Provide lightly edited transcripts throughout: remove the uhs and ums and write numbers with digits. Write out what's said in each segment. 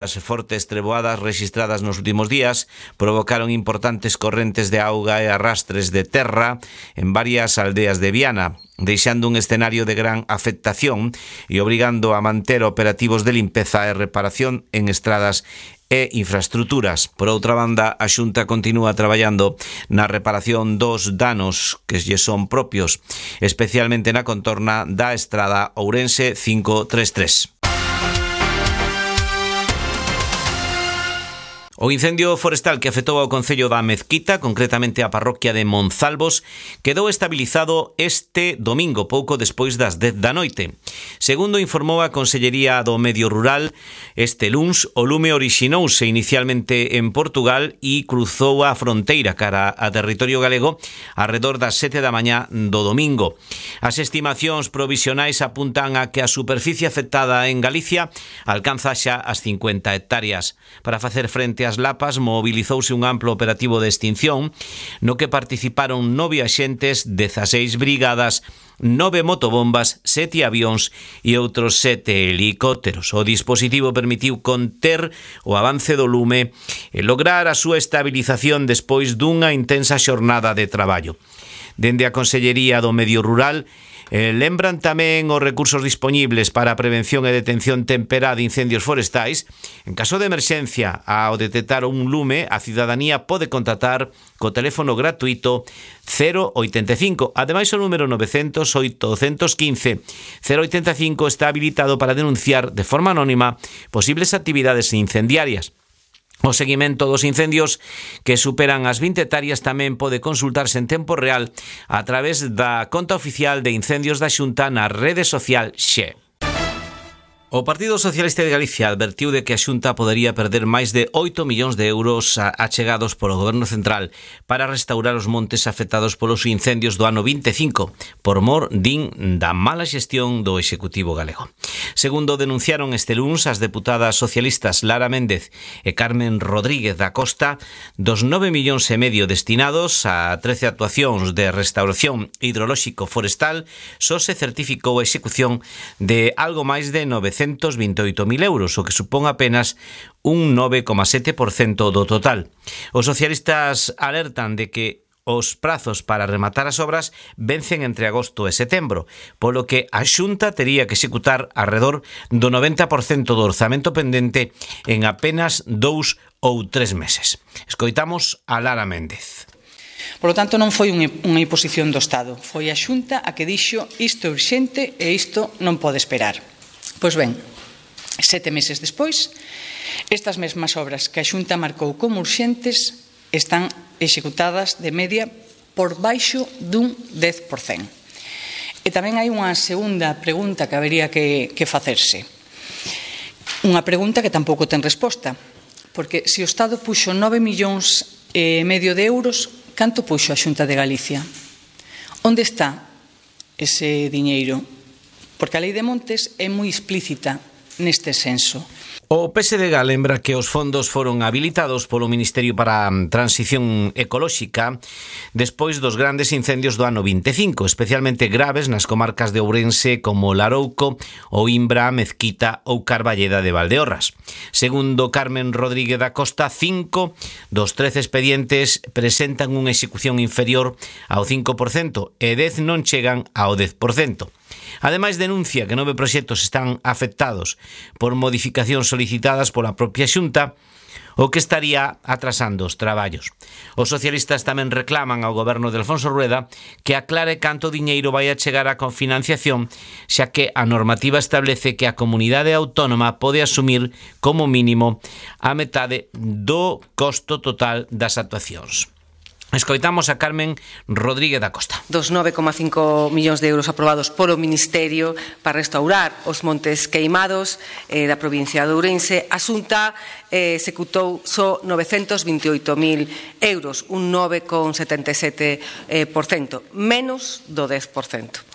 As fortes treboadas rexistradas nos últimos días provocaron importantes correntes de auga e arrastres de terra en varias aldeas de Viana, deixando un escenario de gran afectación e obrigando a manter operativos de limpeza e reparación en estradas e infraestruturas. Por outra banda, a Xunta continúa traballando na reparación dos danos que lle son propios, especialmente na contorna da estrada Ourense 533. O incendio forestal que afectou ao concello da Mezquita, concretamente a parroquia de Monzalvos, quedou estabilizado este domingo, pouco despois das 10 da noite. Segundo informou a Consellería do Medio Rural, este luns o lume orixinouse inicialmente en Portugal e cruzou a fronteira cara a territorio galego arredor das 7 da mañá do domingo. As estimacións provisionais apuntan a que a superficie afectada en Galicia alcanza xa as 50 hectáreas. Para facer frente as lapas, mobilizouse un amplo operativo de extinción no que participaron 9 axentes, 16 brigadas, 9 motobombas, 7 avións e outros 7 helicópteros. O dispositivo permitiu conter o avance do lume e lograr a súa estabilización despois dunha intensa xornada de traballo. Dende a Consellería do Medio Rural lembran tamén os recursos dispoñibles para a prevención e detención temperá de incendios forestais. En caso de emerxencia, ao detectar un lume, a cidadanía pode contactar co teléfono gratuito 085. Ademais, o número 900-815-085 está habilitado para denunciar de forma anónima posibles actividades incendiarias. O seguimento dos incendios que superan as 20 hectáreas tamén pode consultarse en tempo real a través da conta oficial de incendios da Xunta na rede social Xe. O Partido Socialista de Galicia advertiu de que a Xunta podería perder máis de 8 millóns de euros achegados polo Goberno Central para restaurar os montes afectados polos incendios do ano 25, por mor, din, da mala xestión do Executivo galego. Segundo denunciaron este luns as deputadas socialistas Lara Méndez e Carmen Rodríguez da Costa, dos 9 millóns e medio destinados a 13 actuacións de restauración hidrolóxico forestal, só se certificou a execución de algo máis de 928.000 euros, o que supón apenas un 9,7% do total. Os socialistas alertan de que os prazos para rematar as obras vencen entre agosto e setembro, polo que a Xunta tería que executar arredor do 90% do orzamento pendente en apenas 2 ou 3 meses. Escoitamos a Lara Méndez. Por lo tanto, non foi unha imposición do Estado, foi a Xunta a que dixo isto é urxente e isto non pode esperar. Pois ben, 7 meses despois, estas mesmas obras que a Xunta marcou como urxentes están executadas de media por baixo dun 10%. E tamén hai unha segunda pregunta que habería que facerse. Unha pregunta que tampouco ten resposta, porque se o Estado puxo 9 millóns e medio de euros, canto puxo a Xunta de Galicia? Onde está ese diñeiro? Porque a Lei de Montes é moi explícita neste senso. O PSDG lembra que os fondos foron habilitados polo Ministerio para a Transición Ecolóxica despois dos grandes incendios do ano 25, especialmente graves nas comarcas de Ourense como Larouco, Oimbra, Mezquita ou Carballeda de Valdeorras. Segundo Carmen Rodríguez da Costa, 5 dos 13 expedientes presentan unha execución inferior ao 5% e 10 non chegan ao 10%. Ademais, denuncia que 9 proxectos están afectados por modificacións solicitadas pola propia Xunta, o que estaría atrasando os traballos. Os socialistas tamén reclaman ao goberno de Alfonso Rueda que aclare canto diñeiro vai a chegar á confinanciación, xa que a normativa establece que a comunidade autónoma pode asumir como mínimo a metade do costo total das actuacións. Escoitamos a Carmen Rodríguez da Costa. Dos 9,5 millóns de euros aprobados polo Ministerio para restaurar os montes queimados da provincia de Ourense, a Xunta executou só 928.000 euros, un 9,77%, menos do 10%.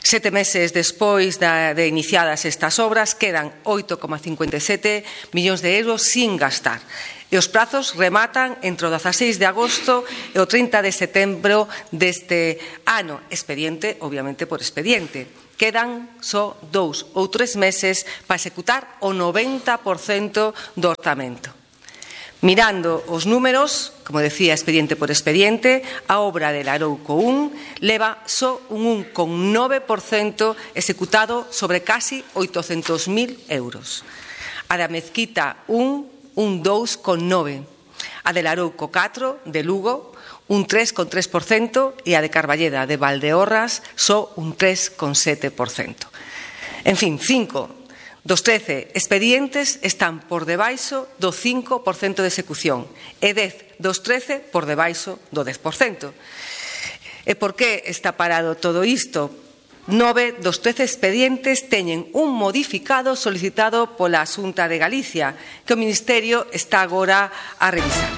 7 meses despois de iniciadas estas obras, quedan 8,57 millóns de euros sin gastar. E os prazos rematan entre o 16 de agosto e o 30 de setembro deste ano, expediente, obviamente por expediente. Quedan só 2 ou 3 meses para executar o 90% do orzamento. Mirando os números, como decía, expediente por expediente, a obra del Arouco 1 leva só un 1,9% executado sobre casi 800.000 euros. A da Mezquita 1, un 2,9%. A del Arouco 4, de Lugo, un 3,3% e a de Carballeda, de Valdeorras, só un 3,7%. En fin, 5 dos 13 expedientes están por debaixo do 5% de execución e 10 dos 13 por debaixo do 10%. E por que está parado todo isto? 9 dos 13 expedientes teñen un modificado solicitado pola Xunta de Galicia que o Ministerio está agora a revisar.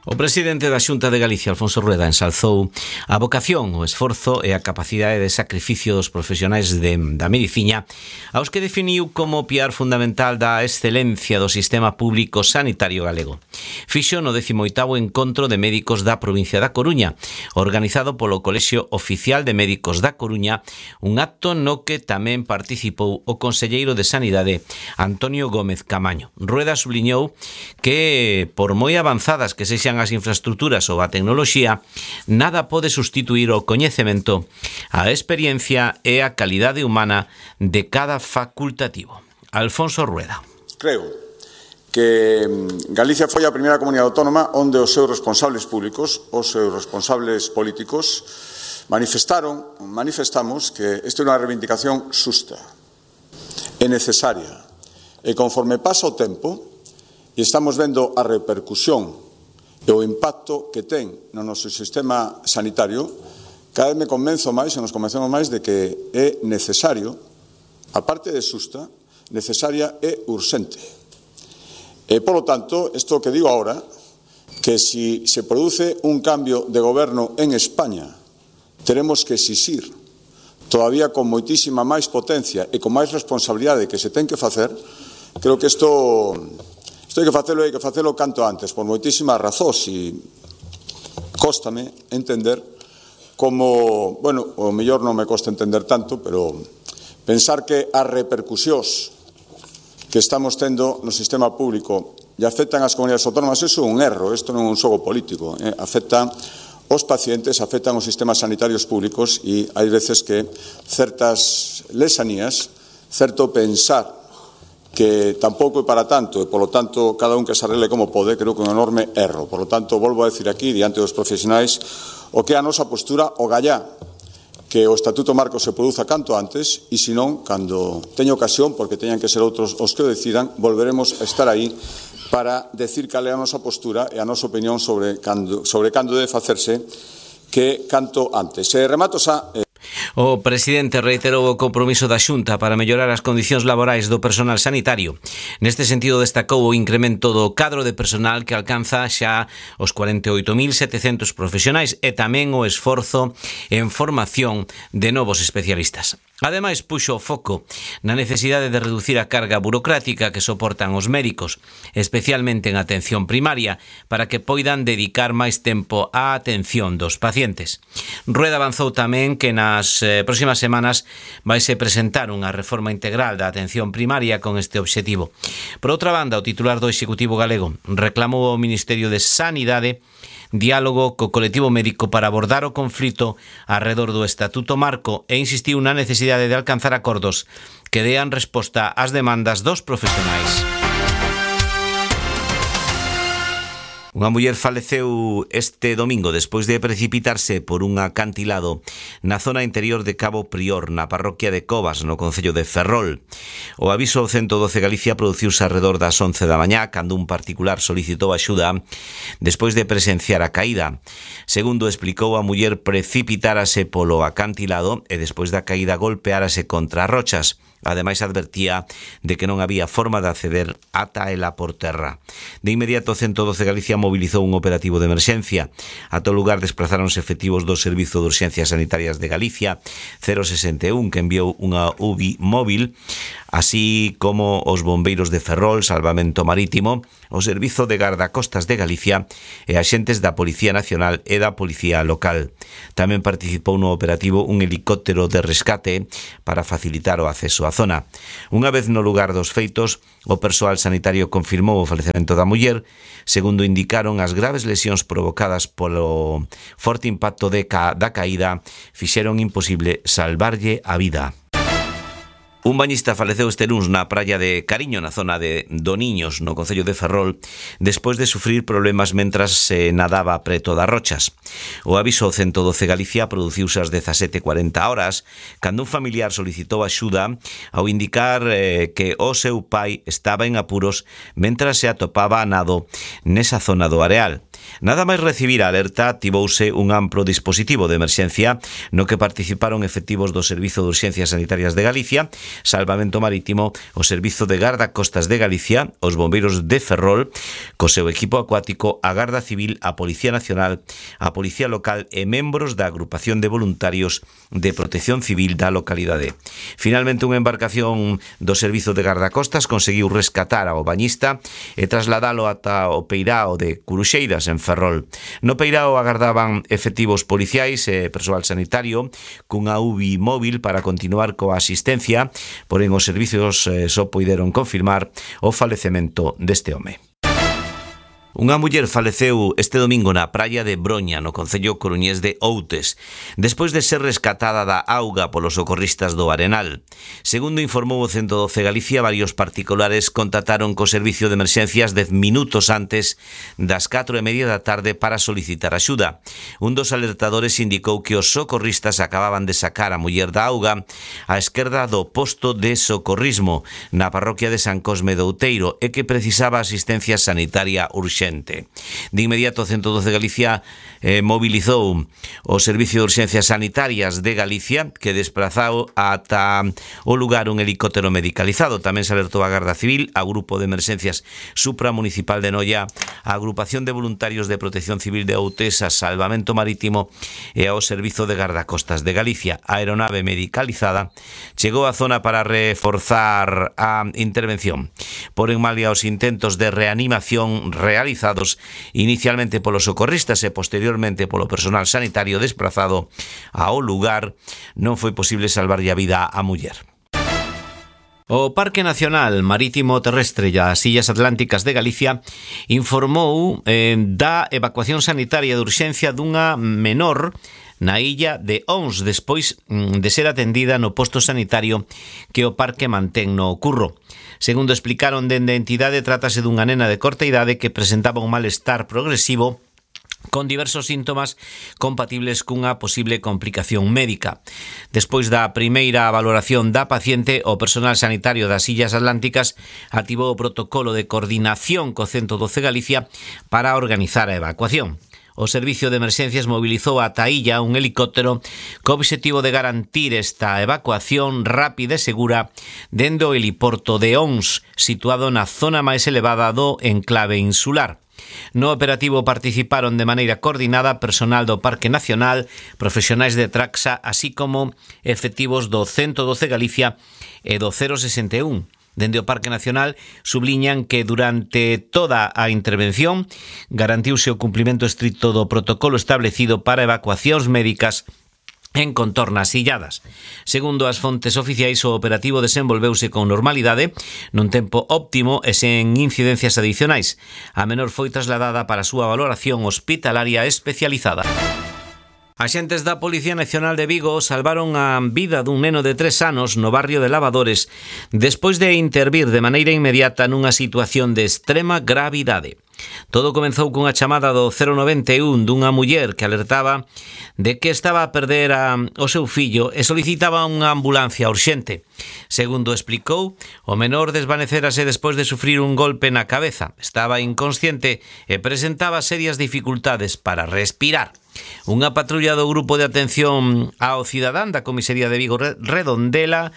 O presidente da Xunta de Galicia, Alfonso Rueda, ensalzou a vocación, o esforzo e a capacidade de sacrificio dos profesionais da medicina, aos que definiu como piar fundamental da excelencia do sistema público sanitario galego. Fixo no 18º Encontro de Médicos da provincia da Coruña, organizado polo Colexio Oficial de Médicos da Coruña, un acto no que tamén participou o conselleiro de Sanidade, Antonio Gómez Camaño. Rueda subliñou que, por moi avanzadas que sexan as infraestructuras ou a tecnoloxía, nada pode sustituir o coñecemento, a experiencia e a calidade humana de cada facultativo. Alfonso Rueda. Creo que Galicia foi a primeira comunidade autónoma onde os seus responsables públicos, os seus responsables políticos, manifestamos que esta é unha reivindicación xusta e necesaria. E conforme pasa o tempo, e estamos vendo a repercusión e o impacto que ten no noso sistema sanitario, cada vez me convenzo máis, e nos convencemos máis de que é necesario, aparte de xusta, necesaria e urxente. E, polo tanto, isto que digo ahora, que si se produce un cambio de goberno en España, teremos que exixir, todavía con moitísima máis potencia e con máis responsabilidade que se ten que facer, creo que isto hai que facelo canto antes, por moitísimas razóns, e cóstame entender como, bueno, o mellor non me costa entender tanto, pero pensar que as repercusións que estamos tendo no sistema público e afectan as comunidades autónomas, iso é un erro, isto non é un xogo político, afectan os pacientes, afectan os sistemas sanitarios públicos e hai veces que certas lesanías, certo pensar que tampouco é para tanto, e, polo tanto, cada un que se arregle como pode, creo que é un enorme erro. Por lo tanto, volvo a decir aquí, diante dos profesionais, o que é a nosa postura, o gallá, que o Estatuto Marco se produza canto antes, e senón, cando teña ocasión, porque teñan que ser outros os que o decidan, volveremos a estar aí para decir cal é a nosa postura e a nosa opinión sobre cando debe facerse, que canto antes. E remato xa... O presidente reiterou o compromiso da Xunta para mellorar as condicións laborais do personal sanitario. Neste sentido, destacou o incremento do cadro de personal que alcanza xa os 48.700 profesionais e tamén o esforzo en formación de novos especialistas. Ademais, puxo o foco na necesidade de reducir a carga burocrática que soportan os médicos, especialmente en atención primaria, para que poidan dedicar máis tempo á atención dos pacientes. Rueda avanzou tamén que nas próximas semanas vaise presentar unha reforma integral da atención primaria con este obxectivo. Por outra banda, o titular do Executivo galego reclamou ao Ministerio de Sanidade diálogo co colectivo médico para abordar o conflito arredor do Estatuto Marco e insistiu na necesidade de alcanzar acordos que dean resposta ás demandas dos profesionais. Unha muller faleceu este domingo despois de precipitarse por un acantilado na zona interior de Cabo Prior, na parroquia de Covas, no concello de Ferrol. O aviso ao 112 Galicia produciuse alrededor das 11 da mañá, cando un particular solicitou axuda despois de presenciar a caída. Segundo explicou, a muller precipitárase polo acantilado e despois da caída golpeárase contra as rochas. Ademais advertía de que non había forma de acceder ata ela por terra. De inmediato 112 Galicia mobilizou un operativo de emerxencia. A todo lugar desplazáronse efectivos do Servizo de Urxencias Sanitarias de Galicia 061, que enviou unha UBI móvil, así como os bombeiros de Ferrol, Salvamento Marítimo, o Servizo de Gardacostas de Galicia e axentes da Policía Nacional e da Policía Local. Tamén participou no operativo un helicóptero de rescate para facilitar o acceso á zona. Unha vez no lugar dos feitos, o persoal sanitario confirmou o falecemento da muller. Segundo indicaron, as graves lesións provocadas polo forte impacto da caída fixeron imposible salvarlle a vida. Un bañista faleceu este luns na praia de Cariño, na zona de Doniños, no concello de Ferrol, despois de sufrir problemas mentras se nadaba preto das rochas. O aviso 112 Galicia produciuse ás 17:40 horas, cando un familiar solicitou axuda ao indicar que o seu pai estaba en apuros mentras se atopaba a nado nesa zona do areal. Nada máis recibir a alerta, activouse un amplo dispositivo de emerxencia no que participaron efectivos do Servizo de Urxencias Sanitarias de Galicia, Salvamento Marítimo, o Servizo de Gardacostas de Galicia, os bombeiros de Ferrol, co seu equipo acuático, a Garda Civil, a Policía Nacional, a Policía Local e membros da agrupación de voluntarios de protección civil da localidade. Finalmente, unha embarcación do Servizo de Gardacostas conseguiu rescatar ao bañista e trasladalo ata o peirao de Curuxeiras, en Ferrol. No peirao agardaban efectivos policiais e persoal sanitario cunha UBI móvil para continuar coa asistencia, porén os servizos só puideron confirmar o falecemento deste home. Unha muller faleceu este domingo na praia de Broña, no concello coruñés de Outes, despois de ser rescatada da auga polos socorristas do Arenal. Segundo informou o 112 Galicia, varios particulares contactaron co servicio de emerxencias 10 minutos antes das 4:30 da tarde para solicitar axuda. Un dos alertadores indicou que os socorristas acababan de sacar a muller da auga á esquerda do posto de socorrismo na parroquia de San Cosme do Outeiro e que precisaba asistencia sanitaria urxente. De inmediato, 112 Galicia mobilizou o Servicio de Urxencias Sanitarias de Galicia, que desplazou ata o lugar un helicóptero medicalizado. Tamén se alertou a Garda Civil, a Grupo de Emerxencias Supramunicipal de Noia, a Agrupación de Voluntarios de Protección Civil de Outes, a Salvamento Marítimo e ao Servizo de Gardacostas de Galicia. A aeronave medicalizada chegou á zona para reforzar a intervención. Porén, malia os intentos de reanimación realizados inicialmente polos socorristas e posteriormente polo personal sanitario desplazado ao lugar, non foi posible salvarlle a vida á muller. O Parque Nacional Marítimo Terrestre e as Illas Atlánticas de Galicia informou da evacuación sanitaria de urxencia dunha menor na illa de Ons, despois de ser atendida no posto sanitario que o parque mantén no Curro. Segundo explicaron dende a entidade, trátase dunha nena de corta idade que presentaba un malestar progresivo con diversos síntomas compatibles cunha posible complicación médica. Despois da primeira valoración da paciente, o personal sanitario das Illas Atlánticas activou o protocolo de coordinación co 112 Galicia para organizar a evacuación. O Servicio de Emerxencias mobilizou ata a illa un helicóptero co obxectivo de garantir esta evacuación rápida e segura dende o heliporto de Ons, situado na zona máis elevada do enclave insular. No operativo participaron de maneira coordinada personal do Parque Nacional, profesionais de Traxa, así como efectivos do 112 Galicia e do 061. Dende o Parque Nacional subliñan que durante toda a intervención garantiuse o cumprimento estricto do protocolo establecido para evacuacións médicas en contornas illadas. Segundo as fontes oficiais, o operativo desenvolveuse con normalidade, nun tempo óptimo e sen incidencias adicionais. A menor foi trasladada para a súa valoración hospitalaria especializada. Axentes da Policía Nacional de Vigo salvaron a vida dun neno de 3 anos no barrio de Lavadores despois de intervir de maneira inmediata nunha situación de extrema gravidade. Todo comezou cunha chamada do 091 dunha muller que alertaba de que estaba a perder o seu fillo e solicitaba unha ambulancia urxente. Segundo explicou, o menor desvanecérase despois de sufrir un golpe na cabeza. Estaba inconsciente e presentaba serias dificultades para respirar. Unha patrulla do Grupo de Atención ao Cidadán da Comisaría de Vigo Redondela,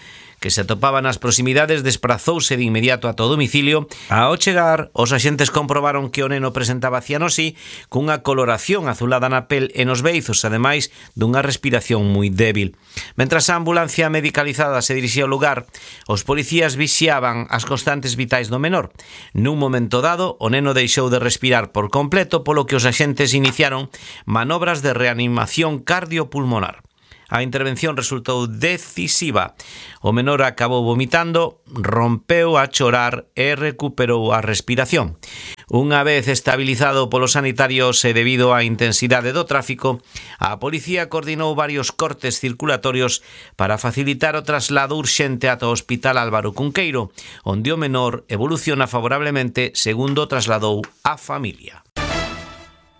que se atopaba nas proximidades, desprazouse de inmediato ata o domicilio. Ao chegar, os axentes comprobaron que o neno presentaba cianosi cunha coloración azulada na pel e nos beizos, ademais dunha respiración moi débil. Mentras a ambulancia medicalizada se dirixía ao lugar, os policías vixiaban as constantes vitais do menor. Nun momento dado, o neno deixou de respirar por completo, polo que os axentes iniciaron manobras de reanimación cardiopulmonar. A intervención resultou decisiva. O menor acabou vomitando, rompeu a chorar e recuperou a respiración. Unha vez estabilizado polos sanitarios e debido á intensidade do tráfico, a policía coordinou varios cortes circulatorios para facilitar o traslado urxente ata o Hospital Álvaro Cunqueiro, onde o menor evoluciona favorablemente, segundo trasladou a familia.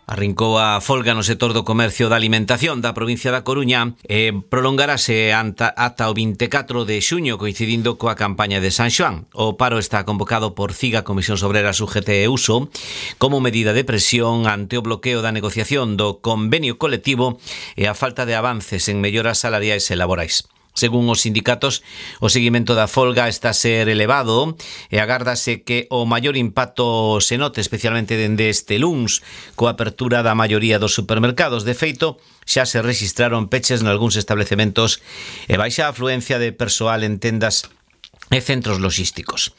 Arrincou a folga no sector do comercio da alimentación da provincia da Coruña e prolongarase ata o 24 de xuño, coincidindo coa campaña de San Xoán. O paro está convocado por CIGA, Comisión Obreras, UGT e USO, como medida de presión ante o bloqueo da negociación do convenio colectivo e a falta de avances en melloras salariais e laborais. Según os sindicatos, o seguimento da folga está a ser elevado e agárdase que o maior impacto se note especialmente dende este luns coa apertura da maioría dos supermercados. De feito, xa se rexistraron peches nalgúns establecementos e baixa afluencia de persoal en tendas e centros logísticos.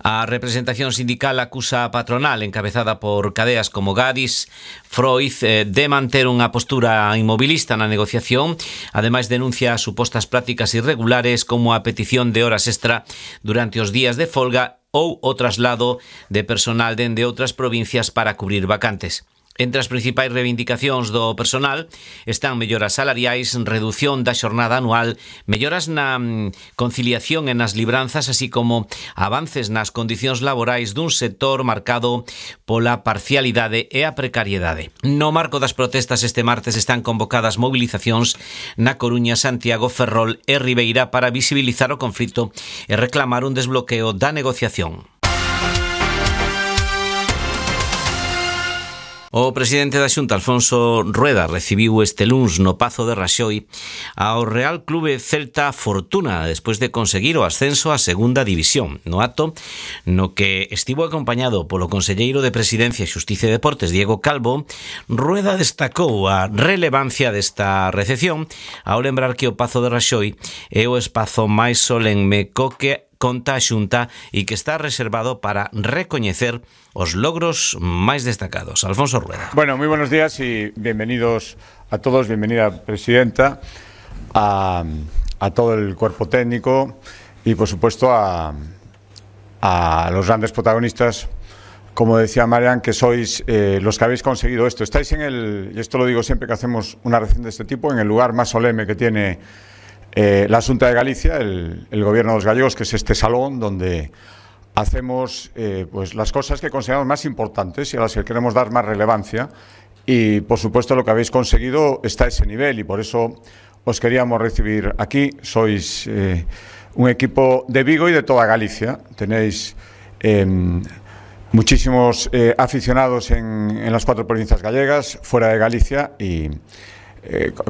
A representación sindical acusa a patronal, encabezada por cadeas como Gadis, Freud, de manter unha postura inmobilista na negociación. Ademais, denuncia supostas prácticas irregulares como a petición de horas extra durante os días de folga ou o traslado de personal dende outras provincias para cubrir vacantes. Entre as principais reivindicacións do personal están melloras salariais, redución da xornada anual, melloras na conciliación e nas libranzas, así como avances nas condicións laborais dun sector marcado pola parcialidade e a precariedade. No marco das protestas este martes están convocadas movilizacións na Coruña, Santiago, Ferrol e Ribeira para visibilizar o conflito e reclamar un desbloqueo da negociación. O presidente da Xunta, Alfonso Rueda, recibiu este luns no Pazo de Raxoi ao Real Clube Celta Fortuna despois de conseguir o ascenso á segunda división. No acto, no que estivo acompañado polo conselleiro de Presidencia, Xustiza e Deportes, Diego Calvo, Rueda destacou a relevancia desta recepción ao lembrar que o Pazo de Raxoi é o espazo máis solemne co que conta a Xunta e que está reservado para recoñecer os logros máis destacados. Alfonso Rueda. Bueno, muy buenos días y bienvenidos a todos, bienvenida Presidenta, a todo el cuerpo técnico y por supuesto a los grandes protagonistas, como decía Marian, que sois los que habéis conseguido esto. Estáis y esto lo digo siempre que hacemos una recepción de este tipo, en el lugar más solemne que tiene la Xunta de Galicia, el Gobierno de los Gallegos, que es este salón donde hacemos pues las cosas que consideramos más importantes y a las que queremos dar más relevancia, y por supuesto lo que habéis conseguido está a ese nivel y por eso os queríamos recibir aquí. Sois un equipo de Vigo y de toda Galicia, tenéis muchísimos aficionados en las 4 provincias gallegas, fuera de Galicia y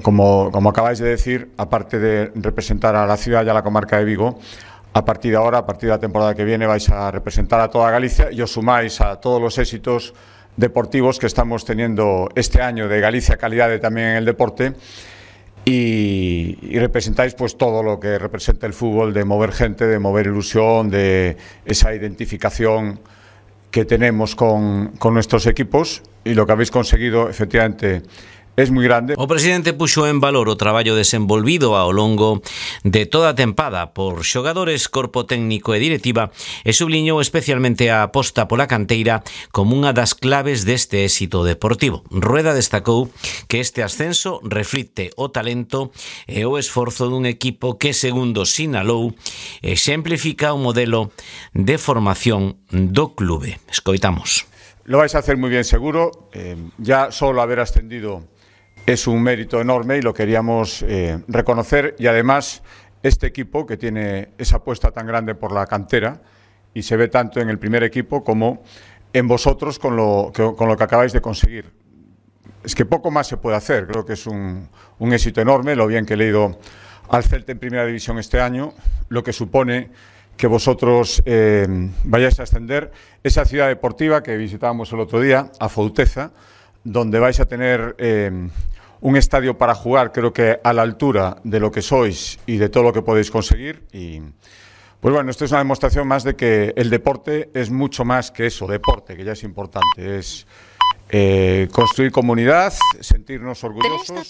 como acabáis de decir, aparte de representar a la ciudad y a la comarca de Vigo, a partir de ahora, a partir de la temporada que viene, vais a representar a toda Galicia y os sumáis a todos los éxitos deportivos que estamos teniendo este año de Galicia Calidade también en el deporte y representáis pues todo lo que representa el fútbol, de mover gente, de mover ilusión, de esa identificación que tenemos con nuestros equipos, y lo que habéis conseguido efectivamente es moi grande. O presidente puxo en valor o traballo desenvolvido ao longo de toda a tempada por xogadores, corpo técnico e directiva e subliñou especialmente a aposta pola canteira como unha das claves deste éxito deportivo. Rueda destacou que este ascenso reflicte o talento e o esforzo dun equipo que, segundo sinalou, exemplifica o modelo de formación do clube. Escoitamos. Lo vais a hacer muy bien seguro, ya solo haber ascendido es un mérito enorme y lo queríamos reconocer, y además este equipo que tiene esa apuesta tan grande por la cantera y se ve tanto en el primer equipo como en vosotros con lo que acabáis de conseguir. Es que poco más se puede hacer, creo que es un éxito enorme, lo bien que he leído al Celta en Primera División este año, lo que supone que vosotros vayáis a ascender esa ciudad deportiva que visitábamos el otro día, a Fouteza, donde vais a tener un estadio para jugar, creo que a la altura de lo que sois y de todo lo que podéis conseguir. Y pues bueno, esto es una demostración más de que el deporte es mucho más que eso, deporte, que ya es importante, es construir comunidad, sentirnos orgullosos.